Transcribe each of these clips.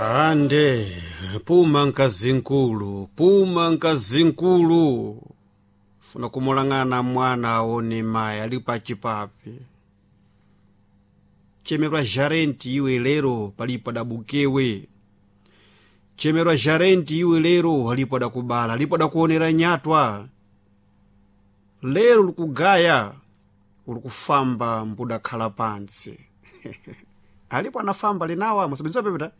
Ande puma nkazinkulu, puma nkazinkulu, funa kumulang'ana mwana aone mayi ali pachipapi. Chemerwa jarenti iwe lero palipo adabukewe. Chemerwa jarenti iwe lero alipo adakubala, alipo adakuonera nyatwa. Lero likugaya ulikufamba mbudakhala pantsi. Alipo anafamba linawa musabiriza pepeta.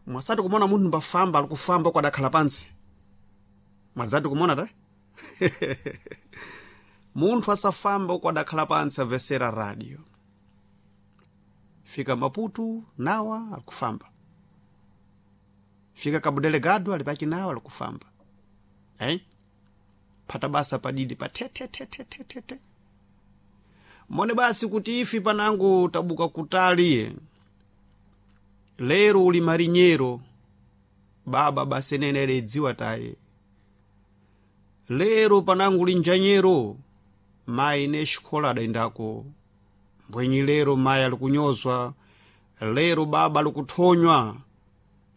Mwasati kumona munthu mbafamba alikufamba kwadakhala pantsi. Mwadzati kumona ta? Munthu asafamba uku adakhala pantsi amvesera radio. Fika Maputo nawa alikufamba. Fika Cabo Delgado ali pachinawa alikufamba. Eh? Phata basa padidi pa te te te te te te te. Mone basi kuti ifi panangu tabuka kutali. Lero uli marinyero. Baba basi nene ledziwa taye. Lero panangu uli njanyero. Mayi ne xikola adayendako. Mbwenyi lero mayi alikunyozwa. Lero baba alikuthonywa.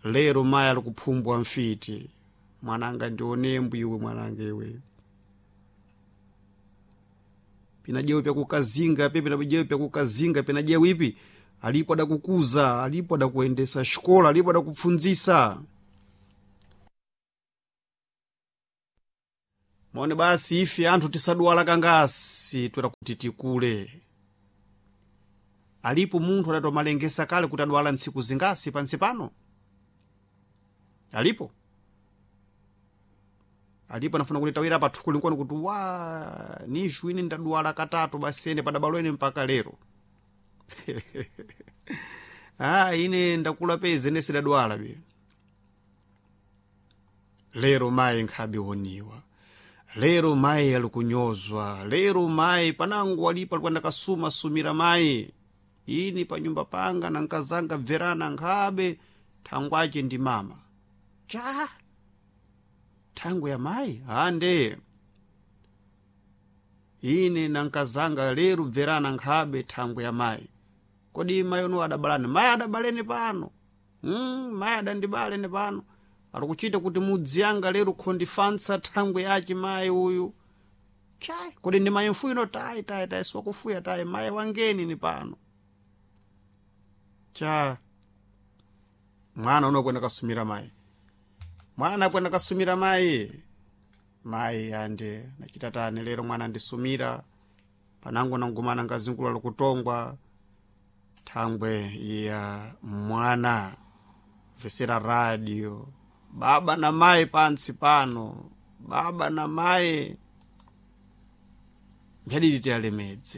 Lero mayi alikuphumbwa mfiti. Mwananga ndionembo iwe mwananga iwe. Pina jewe pyakukazinga pe pina jewe pyakukazinga pina jewe ipi alipo adakukuza alipo adakuendesa xikola alipo adakupfundzisa. Mone basi ife anthu tisadwala kangasi twera kuti tikule. Alipo munthu adatomalengesa kale kuti adwala ntsiku zingasi pansi pano. Alipo. Alipo anafuna kuti tawira pa thuku linkwani kuti wa nishu ine ndadwala katatu basi ene padabalo ene mpaka lero. Ah, ine ndakula pezi ine sidadwala be. Lero mayi nkhabe woniwa. Lero mayi alikunyozwa. Lero mayi panangu alipo alikuwa ndakasuma sumira mayi. Ini pa nyumba panga na nkazanga bverana nkhabe thangwache ndi mama. Cha! Thangwe ya mayi? Ande. Ine na nkazanga lero bverana nkhabe thangwe ya mayi. Kodi mayi ono adabalani? Mayi adabaleni pano. Mayi adandibaleni pano. Alikuchita kuti mudzi anga lero khondifansa thangwe yace mayi uyu. Chai, kodi ndi mayi mfuyo tayi tayi tayi siwakufuya tayi mayi wangeni ni pano. Cha mwana uno kwenda kasumira mayi. Mwana kwenda kasumira mayi. Mayi ande nachita tani lero mwana andisumira. Panango nangumana ngazingula lokutongwa thangwe ya mwana vesera radio. Baba na mayi pantsi pano. Baba na mayi mbyadidi tiyalemedze.